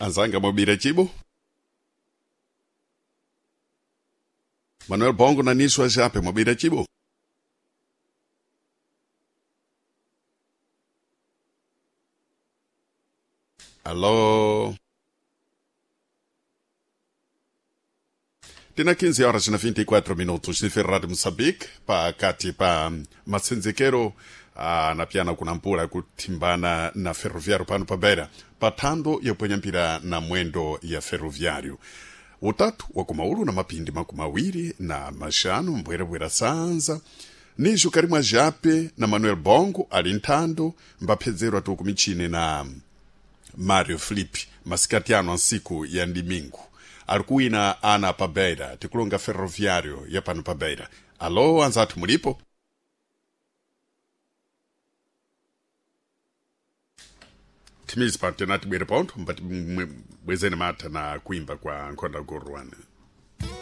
Anzanga mwabira chibo Manuel Bongo na Niswa Jape mwabira chibo. Alô. Tina 15 horas na 24 minutos ni Ferrari Moçambique pakati pa matsenzekero na piana kunampula kuthimbana na ferroviário pano pa Beira pathando yapwenya mpira na mwendo ya ferroviário utatu wa kumaulu na mapindi makumi awiri na maxanu mbwerabwera sanza nijo karimwa jape na Manuel Bongo ali nthando mbaphedzerwa tuku michini na Mario Felipe masikati ano ansiku ya ndimingu ali kuwina ana pa Beira tikulonga ferroviário ya pano pa Beira. Alo anzathu mulipo? Timizi pano tenati bwere pontho mbati bwezeni matha na kuimba kwa nkhonda gorwana.